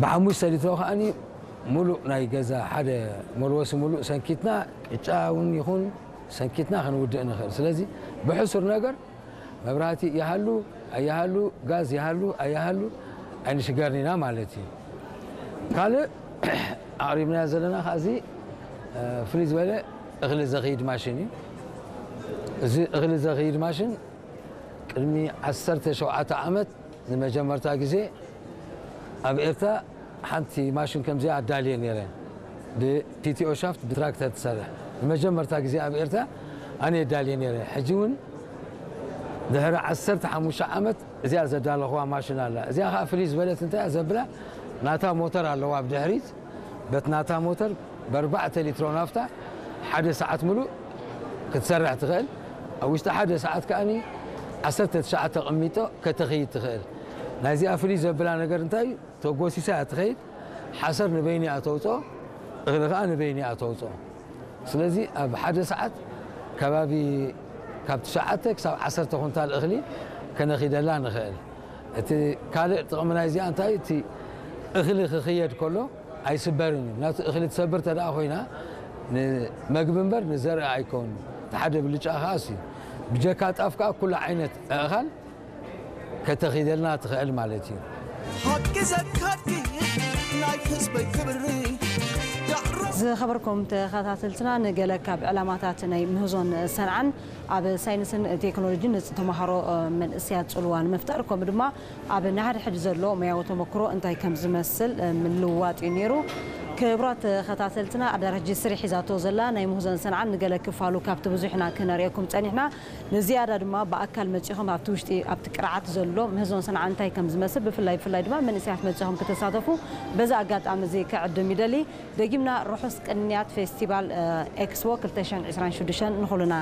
ብሓሙሽተ ሊትሮ ከዓኒ ሙሉእ ናይ ገዛ ሓደ መልወሲ ሙሉእ ሰንኪትና ቅጫ እውን ይኹን ሰንኪትና ክንውድእ ንኽእል። ስለዚ ብሕሱር ነገር መብራህቲ ይሃሉ ኣይሃሉ፣ ጋዝ ይሃሉ ኣይሃሉ ኣይንሽገርን ኢና ማለት እዩ። ካልእ ኣቕሪብናዮ ዘለና ከዚ ፍልይ ዝበለ እኽሊ ዘኽይድ ማሽን እዩ። እዚ እኽሊ ዘኽይድ ማሽን ቅድሚ ዓሰርተ ሸውዓተ ዓመት ንመጀመርታ ግዜ ኣብ ኤርትራ ሓንቲ ማሽን ከምዚኣ ኣዳልየ ነይረ። ብፒቲኦ ሻፍት ብትራክተር ትሰርሕ ንመጀመርታ ግዜ ኣብ ኤርትራ ኣነ ኣዳልየ ነይረ። ሕጂ እውን ድሕሪ ዓሰርተ ሓሙሽተ ዓመት እዚኣ ዘዳለኹዋ ማሽን ኣላ። እዚኣ ከዓ ፍልይ ዝበለት እንታይ እያ ዘብላ፣ ናታ ሞተር ኣለዋ ኣብ ድሕሪት። በቲ ናታ ሞተር ብኣርባዕተ ሊትሮ ናፍታ ሓደ ሰዓት ሙሉእ ክትሰርሕ ትኽእል። ኣብ ውሽጢ ሓደ ሰዓት ከዓኒ ዓሰርተ ትሽዓተ ቅሚጦ ከተኽይድ ትኽእል። ናይዚኣ ፍልይ ዘብላ ነገር እንታይ እዩ? ተጎሲሳ እያ ትኸይድ። ሓሰር ንበይኒ እያ ተውፅኦ፣ እኽሊ ከዓ ንበይኒ እያ ተውፅኦ። ስለዚ ኣብ ሓደ ሰዓት ከባቢ ካብ ትሽዓተ ክሳብ ዓሰርተ ኩንታል እኽሊ ከነኺደላ ንኽእል። እቲ ካልእ ጥቕሚ ናይዚኣ እንታይ? እቲ እኽሊ ክኽየድ ከሎ ኣይስበርን እዩ። ናቱ እኽሊ ትሰብር ተደኣ ኮይና ንመግቢ እምበር ንዘርኢ ኣይከውን። እቲ ሓደ ብልጫ ከዓ እሱ እዩ። ብጀካ ጣፍ ከዓ ኩሉ ዓይነት ኣእኻል ከተኺደልና ትኽእል ማለት እዩ። ሓቂ ዘካኪ ናይ ህዝበይ ክብሪ ዳዕሮ ዝኸበርኩም ተኸታተልትና፣ ንገለ ካብ ዕላማታት ናይ ምህዞን ሰንዓን ኣብ ሳይንስን ቴክኖሎጂን ንተምሃሮ መንእሰያት ጽልዋ ንምፍጣር፣ ከምኡ ድማ ኣብ ንሓድሕድ ዘሎ ሞያዊ ተመክሮ እንታይ ከም ዝመስል ምልውዋጥ እዩ ነይሩ። ክቡራት ተኸታተልትና፣ ኣዳራሽ ጅስሪ ሒዛቶ ዘላ ናይ ምህዞን ሰንዓን ንገለ ክፋሉ ካብቲ ብዙሕና ክነርእየኩም ጸኒሕና። ንዝያዳ ድማ ብኣካል መጺኹም ኣብቲ ውሽጢ ኣብቲ ቅርዓት ዘሎ ምህዞን ሰንዓ እንታይ ከም ዝመስል፣ ብፍላይ ብፍላይ ድማ መንእሰያት መጺኹም ክትሳተፉ በዚ ኣጋጣሚ እዚ ክዕድም ይደሊ። ደጊምና ርሑስ ቅንያት ፌስቲቫል ኤክስፖ ክልተ ሽሕን ዕስራን ሽዱሽተን ንኹልና።